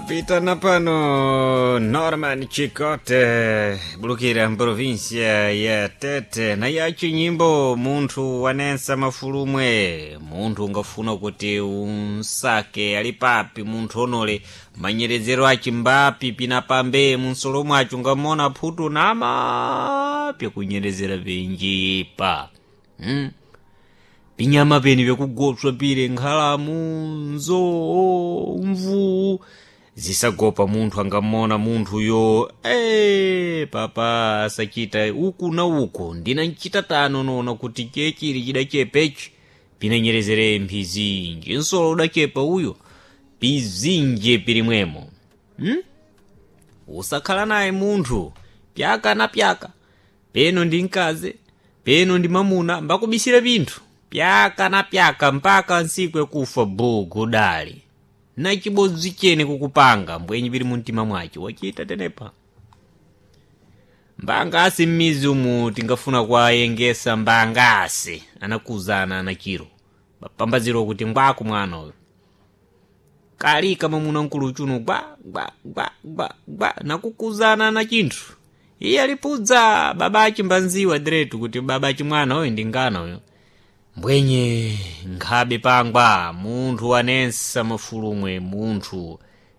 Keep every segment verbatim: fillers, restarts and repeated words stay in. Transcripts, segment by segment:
Pitana pano Norman Chikote bulukira mprovinsia ya Tete na yachi nyimbo munthu wanensa mafulumwe munthu ungafuna kuti unsake ali papi munthu onole manyerezero achi mbapi pinapambe munsolo mwacho ungamona phutu nama pyakunyerezera penjipa hmm? pinyama peni vyakugopswa pile nkhalamu nzowo mvuwu zisagopa munthu angamona munthuyo ee papa asachita uku na uku ndina nchita tano nona kuti chechili chidachepechi pinanyerezere mphizinji nsolo udachepa uyo pizinje pilimwemo hmm? usakhala naye munthu pyaka na pyaka peno ndi mkazi peno ndi mamuna mbakubisira pinthu pyaka na pyaka mpaka nsiku yakufa bugu dali na chibodzi chene kukupanga mbwenyi pili mumtima mwacho wachita tenepa mbangasi m'mizi umu tingafuna kuwayengesa mbangasi anakuzana anachiro bapambaziro kuti ngwaku mwana uyu kalika mamuna mkulu chuno gwa gwa gwa gwa gwa nakukuzana na chinthu iye alipudza baba achimbanziwa diretu kuti baba achimwana uyu ndi ngana uyu mbwenye nkhabe pangwa munthu wanensa mafulumwe munthu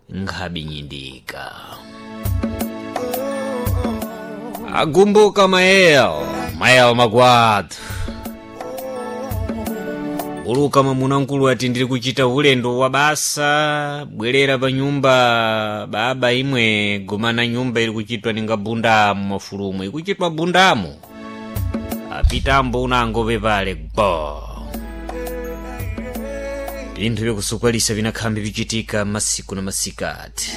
nkhabe nyindika agumbuka mayel mayel magwadu buluka mwamuna mkulu ati ndili kuchita ulendo wa basa bwerera pa nyumba baba imwe gomana nyumba ili kuchitwa ninga bundamu mafulumwe ikuchitwa bundamu apitambo unangope pale gbo pinthu vyakusukwalisa vinakhambi vichitika masiku na masikati.